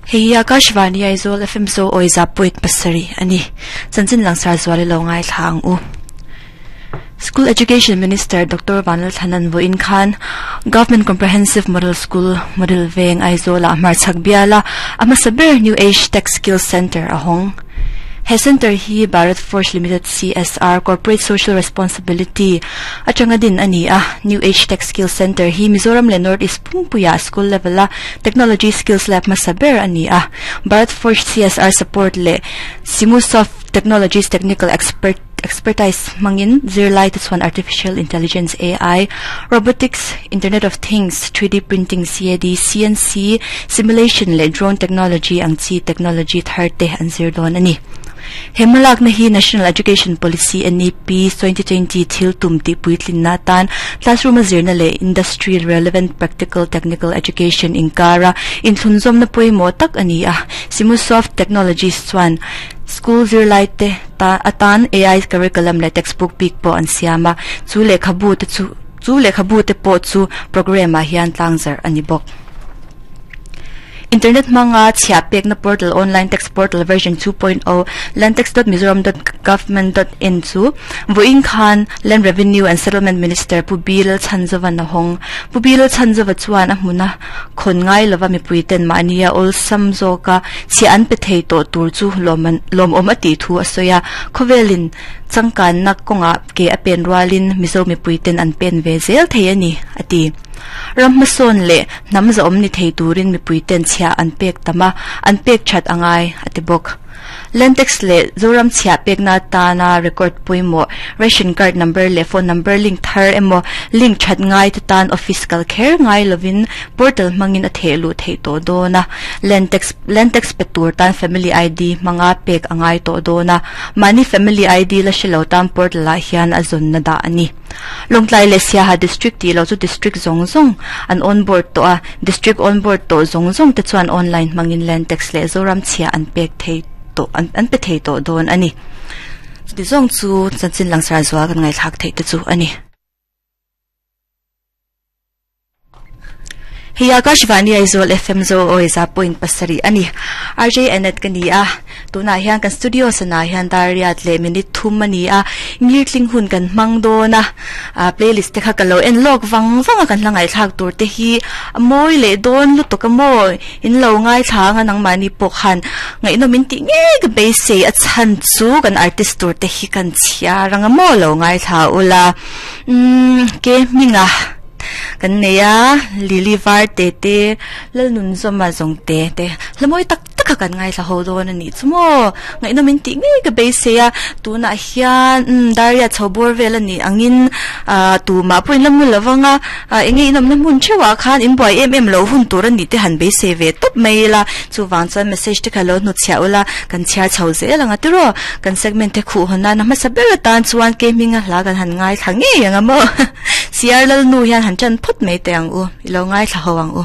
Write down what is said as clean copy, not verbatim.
Hei hi Akashvani Aizawl FM Zo Awiza point pasarih a ni. Chanchin langsar zual i lo ngaithla ang u. School Education Minister Doctor Vanlalthlanan vawiin khan Government Comprehensive Model School, Model Veng, Aizawl-ah hmarchhak biala a hmasa ber New Age Tech Skills Centre a hawng. He centre hi Bharat Forge Limited CSR, Corporate Social Responsibility, atanga din a ni a. New Age Tech Skills Centre hi Mizoram leh North East pumpuiah school level-a technology skills lab hmasa ber a ni a. Bharat Forge CSR support leh Simusoft Technologies technical expert expertise hmangin zirlai te chuan Artificial Intelligence, AI, Robotics, Internet of Things, 3D Printing, CAD, CNC, Simulation leh Drone Technology ang chi technology thar te an zir dawn a ni. He hmalakna hi National Education Policy, NEP, 2020 thil tum tih puitlinna atan classroom a zirna leh industry relevant practical technical education inkara inthlunzawmna pawimawh tak a ni a. Simusoft Technologies chuan school zirlaite ta atan AI curriculum leh textbook bik pawh an siam a, chu lehkhabu te chu chu lehkhabu te pawh chu program ah hian tlangzarh a ni bawk. Internet hmanga chhiah pekna portal Online Tax Portal version 2.0 landtax.mizoram.government.in chu vawiin khan Land Revenue and Settlement Minister Pu B Lalchhanzova'n a hawng. Pu B Lalchhanzova chuan a hmuna khawn ngai lova mipui ten mahnia awlsam zawka chhiah an pe thei tawh tur chu lawmawm a tih thu a sawi a, khawvelin changkanna kawngah ke a pen rualin Mizo mipui ten an pen ve zel thei a ni, a ti. Ram hmasawn leh hnam zahawm ni thei turin mipui ten chhiah an pek tam a, an pek that a ngai, a ti bawk. Lentex leh Zoram chhiah pekna atana record pawimawh, ration card number leh phone number link thar emaw link that ngai te tan office kal kher ngai lovin portal hmangin a theh luh theih tawh dawn a. Lentex Lentex pe tur tan family ID hmanga pek a ngai tawh dawn a, mahni family ID la hre lo tan portal ah hian a zawnna dah a ni. Lawngtlai leh Siaha District tih loh chu District zawng zawng an onboard tawh a, District onboard tawh zawng zawng te chuan online hmangin Land Tax leh Zoram chhia an pek thei tawh an pe thei tawh dawn a ni. Chuti zawng chu chanchin langsar zual kan ngaihthlak theih te chu a ni. Hei Akashvani Aizawl FM Zo Awiza point pasarih a ni. RJ Annette ka ni a, tunah hian kan studio sanah hian dar riat leh minute thum a ni a, ngirtling hun kan hmang dawn a, ah playlist te kha ka lo en lawk vang vang a kan hla ngaihthlak tur te hi a mawi leh dawn lutuk a maw in lo ngaithla anga nangmahni pawh khan ngaihnawm in tih ngei ka beisei a chhan chu kan artist tur te hi kan chhiar anga maw lo ngaithla ula umm ke hminga. Kan nei a, Lily var te te, Lalnunzawma zawng te te, hla mawi tak tak a kan ngaithla ho dawn a nih chu maw? Ngaihnawm in tih ngei ka beisei a, tunah hian umm Daria chho bawr vel a nih angin ah tumah pawh in la mu lo vang a, ah eng nge in awmna hmun theuhah khan in buai em em lo hun tur a nih te han beisei ve tawp mai ila, chuvang chuan message te kha lo hnutchhiah ula, kan chhiar chho zel ang a tiraw? Kan segment te khuh hawn nana hmasa ber atan chuan ke hminga hla kan han ngaithla ngei ang a maw? Siar Lalnu hian han ṭan phawt mai teh ang u, i lo ngaithla ho ang u.